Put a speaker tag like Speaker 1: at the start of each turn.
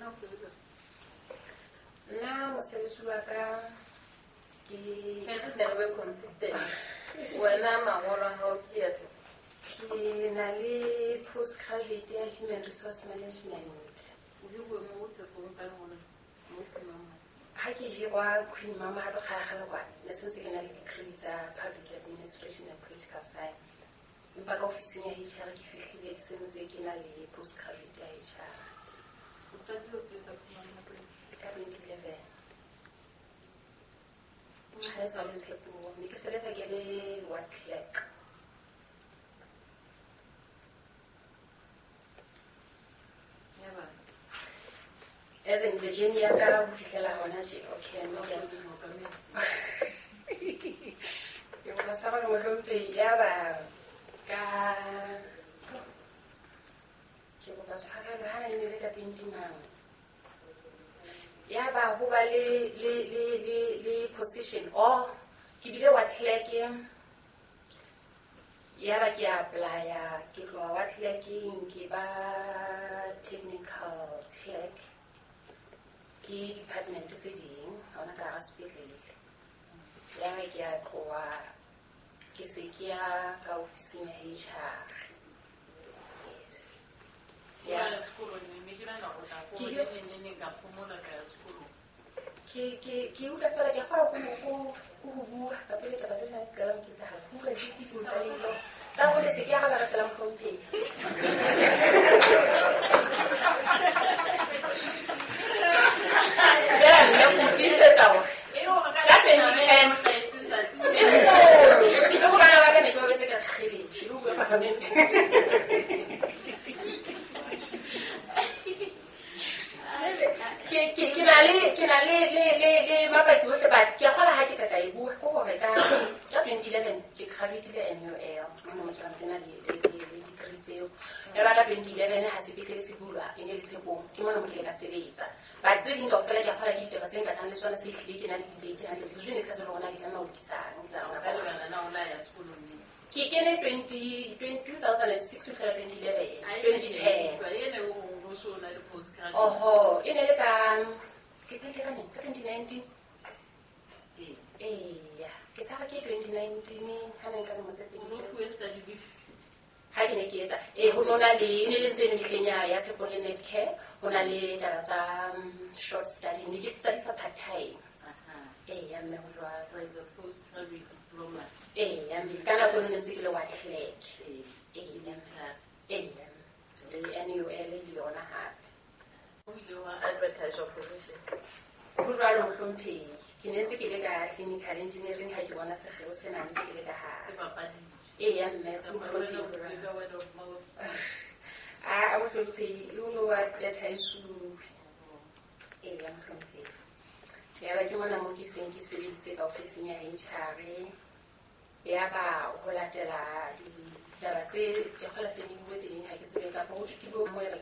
Speaker 1: Wena o sebetsa?
Speaker 2: Nna mosebetsi wa ka ke
Speaker 1: Ke re nne re be consistent. Wena mangolo a hao ke afe?
Speaker 2: Ke na le postgraduate ya human resource management.
Speaker 1: O hiruwe mo Tshepong ka lengolo mo Queen Mama?
Speaker 2: Ha ke hirwa Queen Mama ha kgale kwana, ne sentse ke na le degree tsa public administration and political science. Empa ka ofising ya HR ke fihlile ke sentse ke na le postgraduate ya HR.
Speaker 1: O qadile ho sebetsa Queen Mama nako efe?
Speaker 2: Ka 2011. Ha e sa le Tshepong, ne ke sebetsa ke le ward clerk.
Speaker 1: Yaba?
Speaker 2: As in the journey ya ka ho fihlela hona tje, okay, no ke
Speaker 1: Mookamedi.
Speaker 2: Ke kopa tshwarelo mohlomphehi, yaba ka ke kopa tshwarelo ha ne le ka 20 mang. Yaba ho ba le position or ke bile wa clerk, yaba ke apply-a, ke tloha wa clerking ke ba technical clerk ke department tse ding hona ka hara sepetlele. Yaba ke a tloha ke se ke ya ka ofising ya HR. Yes.
Speaker 1: O ya sekolong ne ke nahana hore o tla
Speaker 2: Ke
Speaker 1: ko neng neng ka phomola ka ya sekolong.
Speaker 2: Ke utlwa fela ke kgona ho bua ka pele taba tse tshwanang ke qalang ke etsahala. Ke utlwa di dimpalelo tsa hore se ke araba pela mohlomphehi. Fela nna ke o tiisetsa hore ka 2010 e kgolo. Le ho bana ba ka ne ke ba betse ka kgele, ke lo bua parlament. Ke na le mabaki ohle, but ke a kgolwa ha ke ka e bua, ke hore ka 2011 ke graduate-ile NUL. Mona mo ke na le degree tseo. Yaba ka 2011 ha sepetlele se bulwa, e ne le Tshepong, ke mona mo ke ile ka sebetsa. But tse ding kaofela ke a kgolwa ke ditaba tse nkatlang le tsona, se hlile ke na le di-date hantle, because jwale ne ke sa tsebe hore na ke tlameha ho lokisang, ke tla
Speaker 1: Ka lebaka la o la ya sekolong neng?
Speaker 2: Ke kene 2006 ho fihlela 2011, 2010.
Speaker 1: Ene o ho so na le postgraduate.
Speaker 2: Oho, e ne le ka, ke qetile ka neng? Ka 2019. Eya, ke tshaba ke 2019 ha ne nka lemo tse pedi.
Speaker 1: O no fuwe study leave?
Speaker 2: Ha ke ne ke etsa, ho nona le, e ne le ntse e le mehleng ya Tshepong le Netcare, ho na le taba tsa short study, ne ke study-sa part time. Eya, mme ho jwalo.
Speaker 1: Was the postgraduate diploma.
Speaker 2: Eya, mme ka nako eno ne ntse ke le wa clerk. Eya. Eya. Le NUL le yona hape.
Speaker 1: O ile wa advertise your position?
Speaker 2: Ho jwalo mohlomphehi. Ke ne ntse ke le ka clinical engineering ha ke bona sekgeo sena ntse ke le ka hare.
Speaker 1: Se bapaditswe.
Speaker 2: Eya, mme,
Speaker 1: Ka
Speaker 2: mohlomphehi,
Speaker 1: word of
Speaker 2: ho jwalo.
Speaker 1: ka word of mouth.
Speaker 2: A mohlomphehi, e o no wa advertise-uwe. Eya, mohlomphehi. Yaba ke mona moo ke seng ke sebeditse ka ofising ya HR. Yaba ho latela ditaba tse ke kgola tse di bue tse ding ha ke tsebe kapa ho thwe ke bue mo yaba